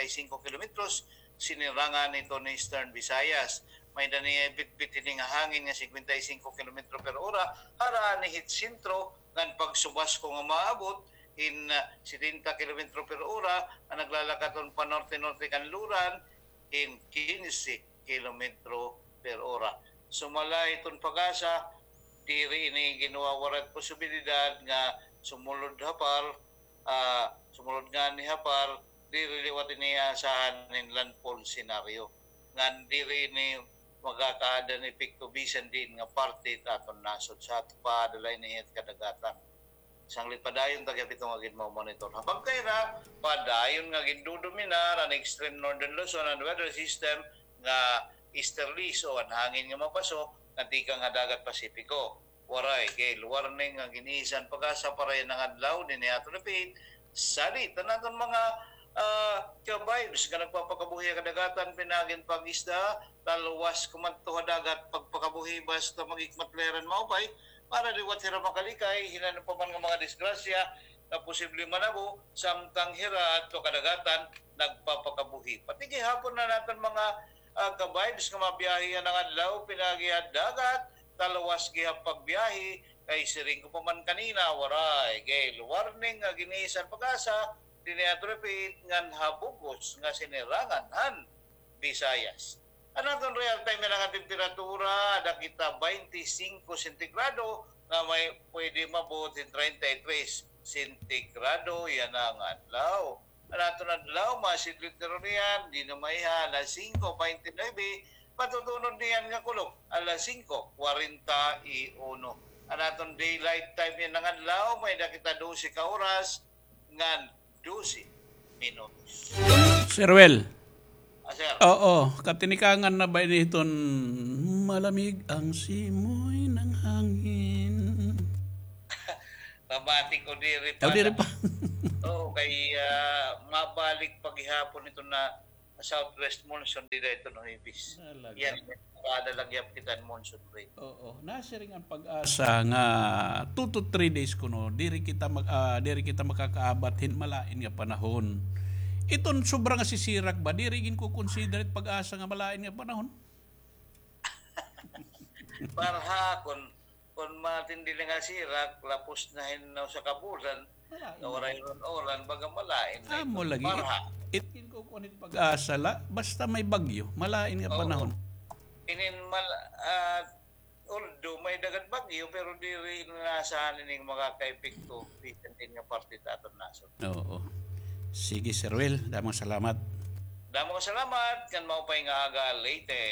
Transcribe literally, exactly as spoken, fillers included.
singko kilometros, sinirangan ito ni Eastern Visayas. May-ada ni bitbit ini nga hangin nga singkwenta y singko kilometro per ora, harani hit sentro, ngan pagsubasko nga maabot hin, ah, setenta kilometro per ora, an naglalakat-on panorte-norte kanluran, hin kinse kilometro per ora. Sumala hiton PAGASA, diri ini ginwawaray posibilidad nga sumulod ha PAR, ah, sumulod ngani ha PAR, diri liwat ini asahan hin landfall scenario. Ngan diri ini makakaada hin epekto bisan diin nga parte ta aton nasod sa aton pa, dala ini hit kadagatan. Sanglit padayon ta gihap ito nga ginmo-monitor. Ha pagkaira, padayon nga gindodominar an extreme northern Luzon an weather system nga easterlies o an hangin nga mapaso nga tikang ha dagat Pasipiko. Waray gale warning nga gin-isa han PAGASA para yana nga adlaw dinhi ha aton dapit. Salit an aton mga, ah, ka-vibes nga nagpapakabuhi ha kadagatan, pinaagi hin pag-isda, talwas kumadto ha dagat, pagpakabuhi basta maghikmat la hira hin maupay, para liwat hira makalikay hin ano pa man nga mga disgrasya nga posible manabo samtang hira adto ha kadagatan nagpapakabuhi. Pati gihapon an aton mga, ah, ka-vibes nga mabiyahe yana nga adlaw, pinaagi ha dagat, talwas gihap pagbiyahe, kay siring ko pa man kanina, waray gale warning nga gin-isa han PAGASA dinhi ha aton dapit ngan ha bug-os nga sinirangan han Visayas. An aton real time yana nga temperatura, ada kita baynte singko sentigrado, nga may pwede maabot hin treinta y tres sentigrado yana nga adlaw. An aton adlaw, masidlot na runo niyan, dinhi ha alas singko baynte nuebe, matutunod niyan nga kulop, alas singko kwarenta y uno. An aton daylight time yana nga adlaw, may-ada kita dose ka oras ngan dose minutos. Sir Well. Ah, sir. Oo, katinikangan na ba ini hiton malamig ang simoy ng hangin? Pabati ko diri pa. Oh, diri pa. Oo, kay, ah, mabalik pa gihapon ito na southwest monsoon dida ito no Huwebes. Talaga. Yan, kada lagi kita monsoon rain. Oo, nasiring an PAGASA nga two to three days kuno, diri kita mag, ah, diri kita makakaabat hin malain nga panahon. Iton sobra nga sisirak ba, diri ginko-consider it PAGASA nga malain nga panahon? Parha kon Kon matindi la nga sirak, lapos na hin usa ka bulan, nga waray uran-uran, baga malain na ito. Amo lagi. Parha. It, it ginkukuan it PAGASA la, basta may bagyo, malain nga panahon. Inin mal-, ah, although may-ada gad bagyo, pero diri inaasahan ini nga makakaepekto bisan diin nga parte ta aton nasod. Oo. Sige, Sir Will, damo nga salamat. Damo nga salamat, ngan maupay nga aga, Leyte.